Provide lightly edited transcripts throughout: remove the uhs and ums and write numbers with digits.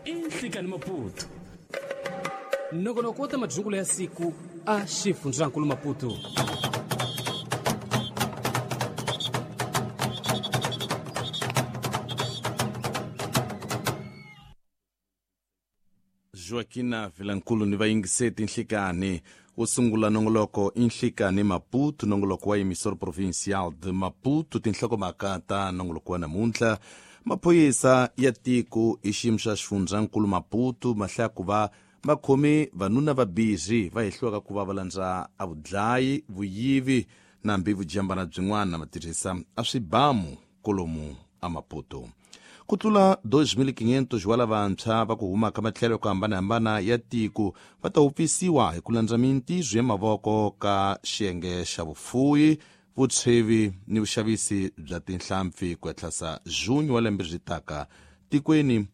I Nhlikani Maputo. Nongonoko wa ta madzungulo ya siku a xifundzankulu Maputo. Joaquina Vilankulu ni vayingiseti Nhlikani wo sungula nongoloko i Nhlikani Maputo, nongoloko wa emissor provincial de Maputo. Tinhlokomhaka ta nongoloko wa namuntlha: maphorisa ya tiko hi xiyimo xa xifundzankulu Maputo ma hlaya ku va va khome vanuna vabirhi va hehliwaka ku va va landza a vudlayi, vuyivi na hambi vujambana byin'wana va tirhisa a swibamu kolomu a Maputo. Ku tlula 2500 wa lavantshwa va ku huma ka matlhelo ku hambanahambana ya tiko va ta wupfisiwa hi ku landza mintirho ya mavoko ka xiyenge xa vufuwi, vutshevi ni vuxavisi bya tinhlampfi ku etlhasa junho wa lembe ri taka tikweni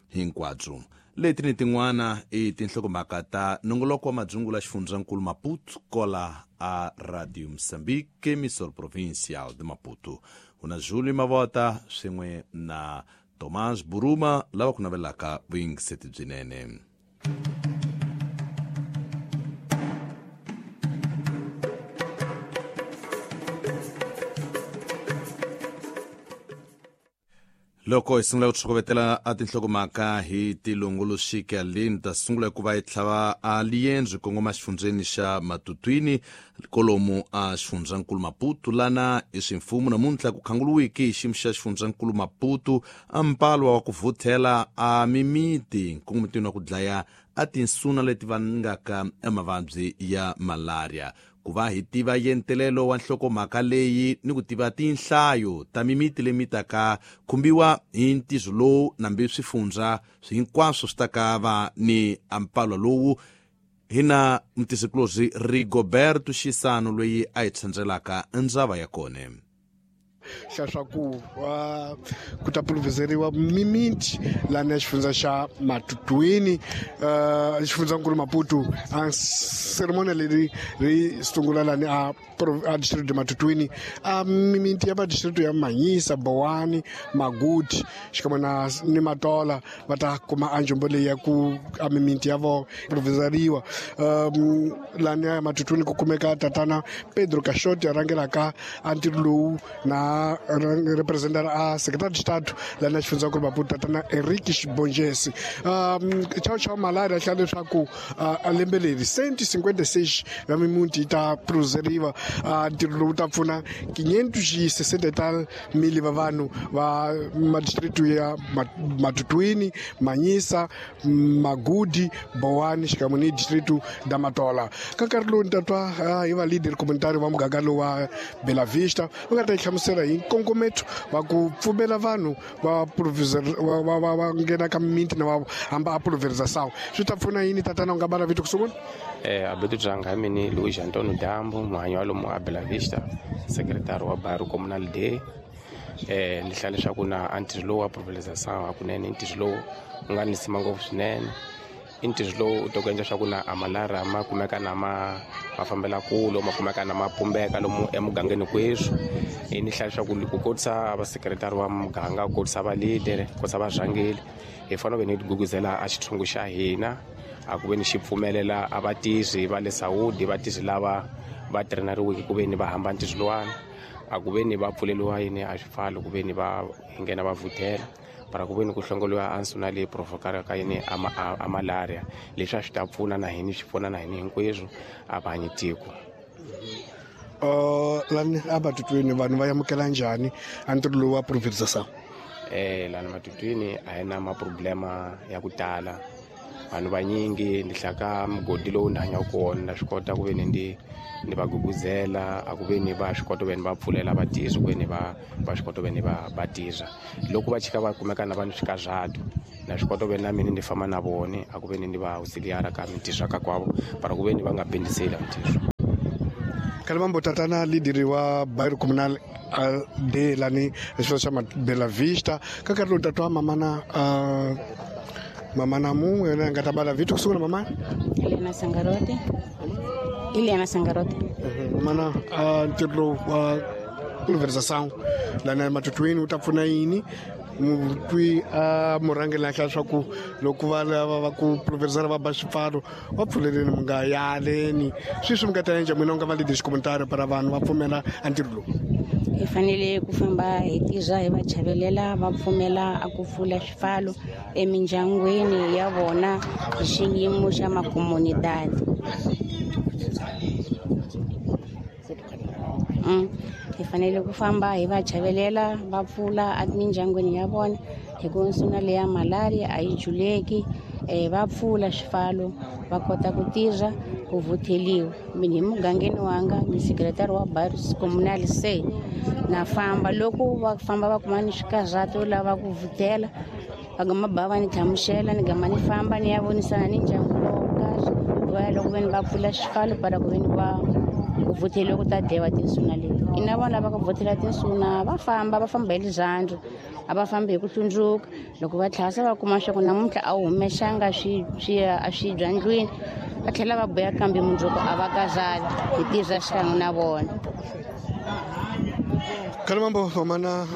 hinkwabyo. Leti ni tin'wana i tinhlokomhaka ta nongoloko wa madzungula xifundzankulu Maputo kola a Radio Mozambique, emissor provincial de Maputo. Una Júlio Mavota swin'we na Tomás Buruma lava ku navelaka vuyingiseti byinene. Loko hi sungula ku tlhokovetela a tinhlokomhaka hi tilongoloxika leyi, ta sungula ku va hi tlhava a liendzo kongoma xifundzeni xa Matutwini kolomu a xifundzankulu Maputo, lana hi swimfumo namuntlha ku khanguluwiki hi xiyimo xa xifundzankulu Maputo a mpalwa wa ku vhuthela a mimiti nkongometweni wa ku dlaya a tinsuna leti vangaka mavabyi ya malaria. Ku va hi tiva yentelelo wa nhlokomhaka leyi ni ku tiva tinhlayo ta mimiti leyi mi taka khumbiwa hi ntirho lowu nambi swifundza hinkwaswo swi ta ka va ni ampalwa lowu, hi na mutisikulorhi Rigoberto Xisano loyi a hi tshandzelaka ndzava ya kona. Xa swa ku ku ta puluvhizeriwa mimiti lani ya xifundza xa Matutwini, xifundzankulu Maputo. A ceremony leri ri sungula lani a district de Matutwini, a mimiti ya va district ya Manyisa, Bowani, Maguti xikan'we na ni Matola va ta kuma a njombo leyi ya ku a mimiti ya vo puluvhizeriwa. Lani ya Matutwini ku kumeka tatana Pedro Caixote a rhangelaka a ntirho lowu na representara a secretary de Estado lani ya xifundzankulu Maputo, tatana Henrique Bongesi. Chao chao malaria hlaya leswaku a lembe leri 156 ya mimuti yi ta puluvhizeriwa. Ntirho lowu ta pfuna 560 tal mili va vanhu va madistritu ya Matutwini, Manyisa, Magudi, Bowani xikan'we ni distritu da Matola. Ka nkarhi lowu ni ta twa hi va leader communitary va muganga lowu wa Bela Vista va nga ta yi hlamusela hi nkongometo wa ku pfumela vanhu va va va nghena ka mimiti na va hamba a pulverização. Swi ta pfuna yini, tatana, u nga bala vito ku sungula? Abeto Dzanga, mini Luiz Antonio Dambo, muhanyi wa lomu a Bela Vista, secretary wa bairro comunal D. Ni hlaya leswaku na a ntirho lowu wa pulverização hakunene i ntirho lowu wu nga ni sima ngopfu swinene. I ntirho lowu u ta ku endla swa ku na a malaria ma kumeka na ma fambela kule, ma kumeka na ma pumbeka lomu emugangeni kweswi. Ni hlaya leswaku ku kotisa va secretary wa muganga, ku kotisa va leader, ku kotisa varhangeli, hi fanele ve ni guguzela a xithungu xa hina a ku ve ni xi pfumelela a vatirhi va le Saudi, vatirhi lava va traineriweke ku ve ni va hamba ntirho lowani, a ku ve ni va pfuleliwa yini a swipfalo ku ve ni va nghena va vhuthela para ku ve ni ku hlongoliwa a nsuna leyi provokaka yini a malaria. Leswi a swi ta pfuna na hini, swi pfuna na hini hinkweswo a va hanyi tiko. Lani a Matutwini vanhu va amukela njhani a ntirho lowu wa pulverização? Lani Matutwini a hi na maproblema ya ku tala. Vanhu vanyingi ni hlaka mugodi lowu ni hanyaka kona na swi kota ku ve ni ni va guguzela a ku ve ni va swi kota ku ve ni va pfulela vatirhi ku ve ni va swi kota ku ve ni va tirha. Loko va chika va kumeka na va ni swikarhato, na swi kota ku ve na mina ni famba na vona a ku ve ni ni va auxiliara ka mintirho ka kwavo para ku ve ni va nga bendiseli mintirho. Kalimambo, tatana leader wa bairro comunal de lani xifundza xa Bela Vista, ka nkarhi lowu tatwa mamana mun'we yena nga ta bala vito ku sungula, mamana? Eliana Sangarote. Eliana Sangarote. Mamana, ntirho lowu wa pulverização lani Matutwini wu ta pfuna yini? Mutwi a murhangeri la hlaya swa ku loko va lava va ku pulverizara va ba swipfalo va pfuleleni mi nga yaleni sweswi mi nga ta endla n'wina u nga va leadership commentary para vanhu va pfumela a ntirho lowu. Hi fanele ku famba hi tirha hi va chavelela va pfumela a ku pfula swipfalo emindyangwini ya vona hi xiyimo xa makomunidadi. Hi fanele ku famba hi va chavelela va pfula emindyangwini ya vona hi ku nsuna leya malaria a yi juleki, va pfula swipfalo va kota ku tirha ku vutheliwa. Mina hi mugangeni wanga ni sekretari wa Barrios Comunal C na famba loko va famba va kuma ni swikarhato lava ku vuthela va gama ba va ni hlamusela ni gama ni famba ni ya vonisana ni ndyangu lowo karhi va ya loko veni va pfula xipfalo para ku veni va ku vutheliwa ku ta dlewa tinsuna leti. Ina vona lava ku vuthela tinsuna va famba hi lirhandzu, a va fambi hi ku hlundzuka. Loko va tlhasa va kuma swa ku namuntlha a wu humexanga swi a swi bya ndlwini, va tlhela va buya kambe mundzuku a va kazali hi tirha xikan'we na vona. Kalimambo mamana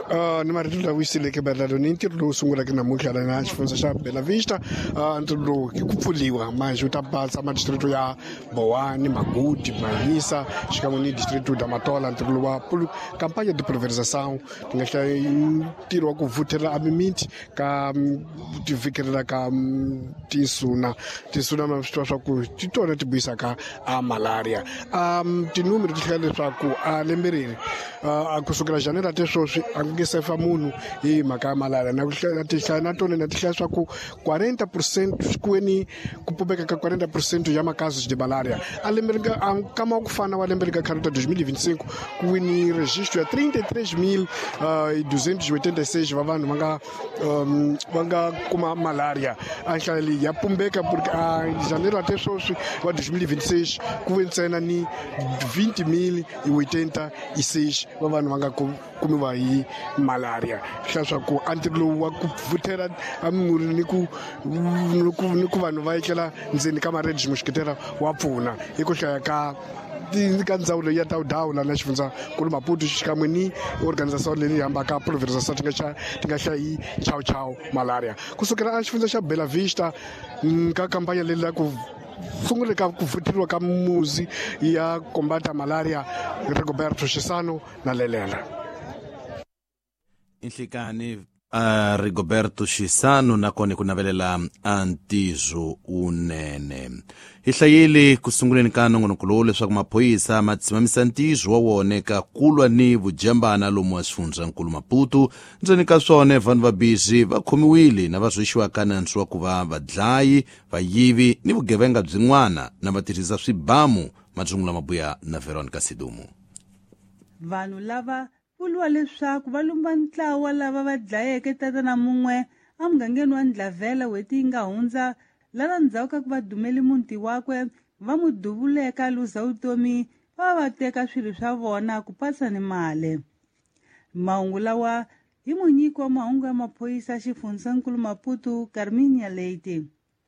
ni marito lawa yiseleke maelano ni ntirho lowu sungulaka namuntlha na xifundza xa Bela Vista. Ntirho lowu i ku pfuliwa manje wu ta batsa madistrito ya Boane, Magude, Manhiça xikan'we ni distrito da Matola. Ntirho lowu wa kampanya de pulverização ti nga hlaya ntirho wa ku vuthela a mimiti ka ti vikelela ka tinsuna ma swi tiva swa ku ti tona ti buyisaka a malaria. Tinumero ti hlaya leswaku a lembe leri a kusukela janeiro até sweswi a nge se fa munhu hi mhaka ya malaria. Na ku hlaya ti hlaya na tona na ti hlaya swa ku 40% kweni ku pumbeka ka 40% ya makasos de malaria a lembe ri nga kama ku fana wa lembe ri nga khale ta 2025 ku wini registro ya 33,286 va vanhu va nga kuma malaria. A nhlayo leyi ya pumbeka porque a janeiro até sweswi wa 2026 ku ve ntsena ni 20,086 va vanhu va nga kumiwa hi malaria. Hlaya swa ku a ntirho lowu wa ku vuthela a mimurhi ni ku vanhu va etlela ndzeni ka maredi muxiketela wa pfuna hi ku hlaya ka ka ndzawulo ya tawudawula na xifundza nkulu Maputo xikan'we ni organization leyi hambaka pulverization ti nga hlayi chow chow malaria. Kusukela a xifundza xa Bela Vista ka kampanya leyi la ku sungule ka ku vutheriwa ka muzi ya kombata malaria Rigoberto Chisano na Lelela. Inhlikani Rigoberto Chisano nakona ku navelela antizo unene. Hi hlayile ku sunguleni ka nongonoko lowu leswaku maphorisa ma tshimamisa ntizo wa wona ka kulwa ni vujambana lomu wa xifundzankulu Maputo. Ndzeni ka swona vanhu va bizi va khomiwile na va rhwexiwaka nandzu wa ku va vadlayi, vayivi ni vugevenga byin'wana na va tirhisa swibamu. Madzungula mabuya na Veronica Sidumu. Vanhu lava vuriwa leswaku va lumba ntlawa lava va dlayeke tatana mun'we emugangeni wa Ndlavela n'hweti yi nga hundza, lava ndzhaku ka ku va dumeli muti wakwe va n'wi duvuleka luza vutomi va va teka swilo swa vona ku patsa ni mali. Mahungu lawa hi munyiki wa mahungu ya maphorisa xifundzankulu Maputo Carminia Leite.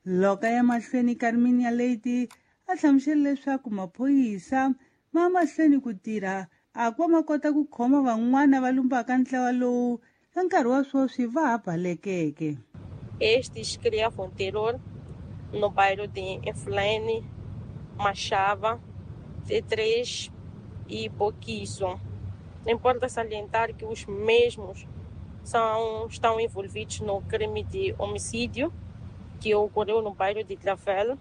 Loko ya mahlweni Carminia Leite a hlamusela leswaku maphorisa ma mahlweni ku tirha a ku va ma kota ku khoma van'wana va lumbaka ntlawa lowu ka nkarhi wa sweswi va ha balekeke. Estes criavam terror no bairro de Inflene, Machava, T3 e Boquizo. Importa salientar que os mesmos estão envolvidos no crime de homicídio que ocorreu no bairro de Travel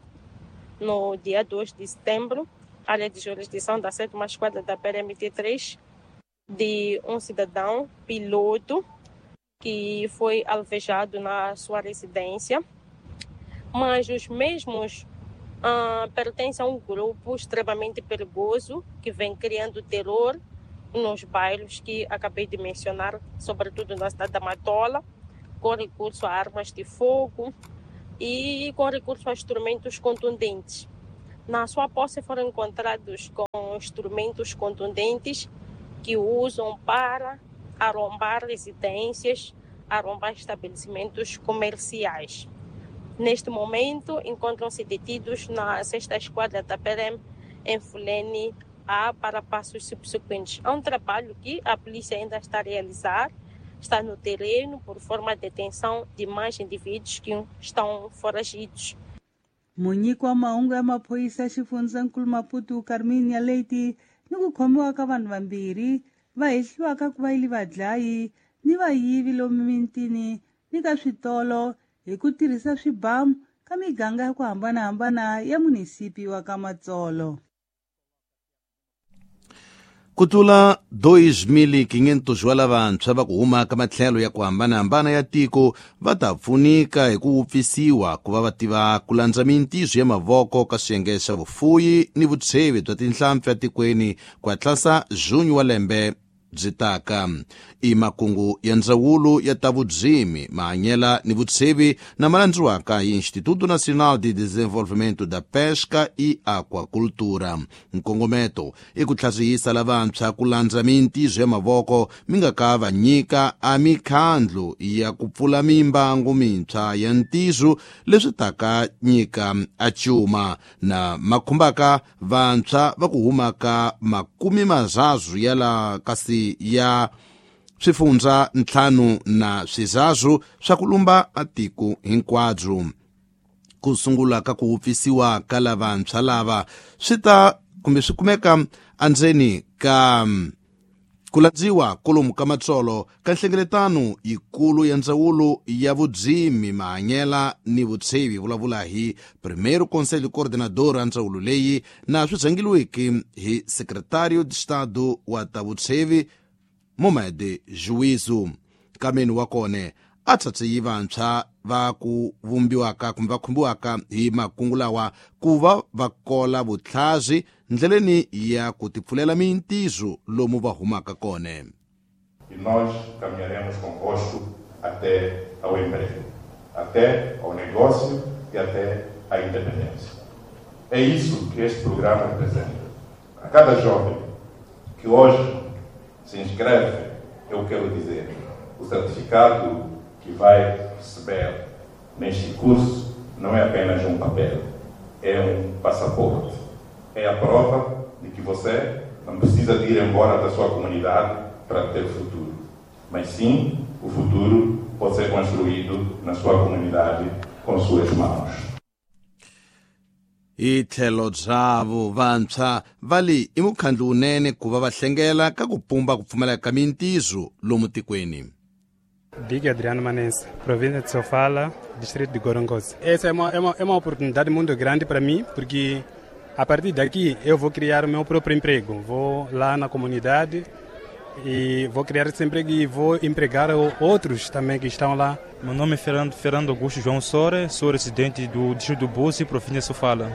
no dia 2 de setembro, área de jurisdição da 7ª Esquadra da PRMT3, de um cidadão piloto que foi alvejado na sua residência, mas os mesmos pertencem a um grupo extremamente perigoso que vem criando terror nos bairros que acabei de mencionar, sobretudo na cidade da Matola, com recurso a armas de fogo e com recurso a instrumentos contundentes. Na sua posse foram encontrados com instrumentos contundentes que usam para arrombar residências, arrombar estabelecimentos comerciais. Neste momento, encontram-se detidos na 6ª Esquadra da PRM em Fulene A para passos subsequentes. É um trabalho que a polícia ainda está a realizar. está no terreno por forma de detenção de mais indivíduos que estão foragidos. Munyiki wa mahungu ya maphorisa xifundzankulu Maputo Carminia Leite ni ku khomiwa ka vanhu vambirhi va hehliwaka ku va yili vadlayi ni vayivi lomu mitini ni ka switolo hi ku tirhisa swibamu ka miganga ya ku hambanahambana ya munisipi wa ka Matsolo. Ku tlula 2500 wa lavantshwa va ku huma ka matlhelo ya ku hambanahambana ya tiko va ta pfunika hi ku wupfisiwa ku va va tiva ku landza mintiso ya mavoko ka swiyenge swa vufuyi ni vutshevi bya tinhlampfi etikweni ku hatlasa junho wa lembe byi taka. I makungu ya ndzawulo ya ta vudzimi mahanyela ni vutshevi na malandziwaka hi Instituto Nacional de Desenvolvimento da Pesca e Aquacultura. Nkongometo i ku tlhasihisa lavantshwa ku landza mintiso ya mavoko mi nga ka va nyika a mikhandlu ya ku pfula mimbangu mintshwa ya ntiso leswi taka nyika a cuma na makhumbaka vantshwa va ku humaka 30 ya la kasi ya swifundza 5 na swizazu swa ku lumba atiko hinkwabyo. Ku sungula ka ku wupfisiwa ka lavantshwa lava swi ta kumbe swi kumeka endzeni ka ku landziwa kolomu ka Matsolo ka nhlengeletano yikulu ya ndzawulo ya vudzimi mahanyela ni vutshevi vulavula hi Primeiro Conselho Coordenador a ndzawulo leyi na swi rhangeliweke hi Secretário de Estado wa ta vutshevi Momede Juízo. Kameni wa kone a tsatsi vantshwa va ku vumbiwaka kumbe va khumbiwaka hi makungu lawa ku va va kola vutlhazi ndleleni ya ku tipfulela mintiso lomu va humaka kone. E nós caminharemos convosco até ao emprego, até ao negócio e até à independência. É isso que este programa representa. A cada jovem que hoje se inscreve, eu quero dizer, o certificado que vai receber neste curso não é apenas um papel, é um passaporte. É a prova de que você não precisa de ir embora da sua comunidade para ter futuro, mas sim, o futuro pode ser construído na sua comunidade com suas mãos. Hi tlhelo byavo vantshwa va li i mukhandlu wunene ku va va hlengela ka ku pumba ku pfumaleka ka mintiso lomu tikweni. Big Adriano Manense, província de Sofala, distrito de Gorongosa. Essa é uma oportunidade muito grande para mim, porque a partir daqui eu vou criar o meu próprio emprego. Vou lá na comunidade e vou criar esse emprego e vou empregar outros também que estão lá. Meu nome é Fernando Augusto João Sore, sou residente do distrito do Buzi, província de Sofala.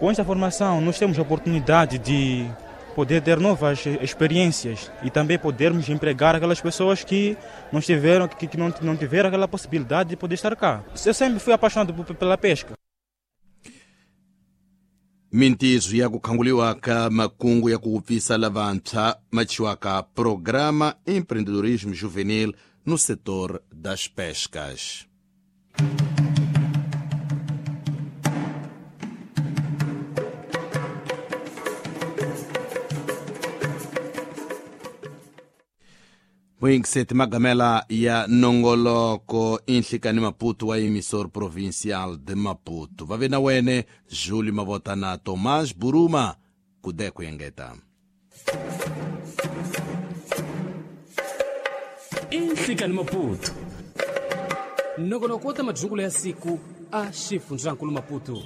Com esta formação, nós temos a oportunidade de poder ter novas experiências e também podermos empregar aquelas pessoas que não tiveram, que não tiveram aquela possibilidade de poder estar cá. Eu sempre fui apaixonado pela pesca. Mintiso ya ku khanguliwa ka makungu ya ku wupfisa lavantshwa machiwaka Programa Empreendedorismo Juvenil no setor das pescas. Moingiseti magamela ya nongoloko inhlikani Maputo wa emissor provincial de Maputo. Va na wene Júlio Mavota na Tomás Buruma kudeko yengeta. Inhlikani Maputo. Nongonoko wa madzungulo ya siku a xifundzankulu Maputo.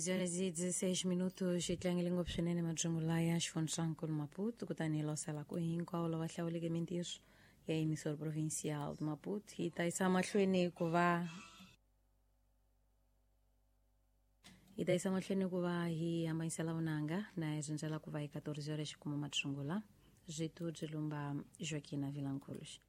Horas e 16 minutos e tlangele ngopfu swinene madzungu ya xifundzankulu Maputo kutani hi losela ku hinkwawo lava hlawuleke mintirho ya emissor provincial de Maputo hi ta yisa mahlweni ku va hi hambanyisela vunanga na hi rindzela ku va hi 14 horas xikuma madzungula byitu byi lumba Joaquina Vilanculos.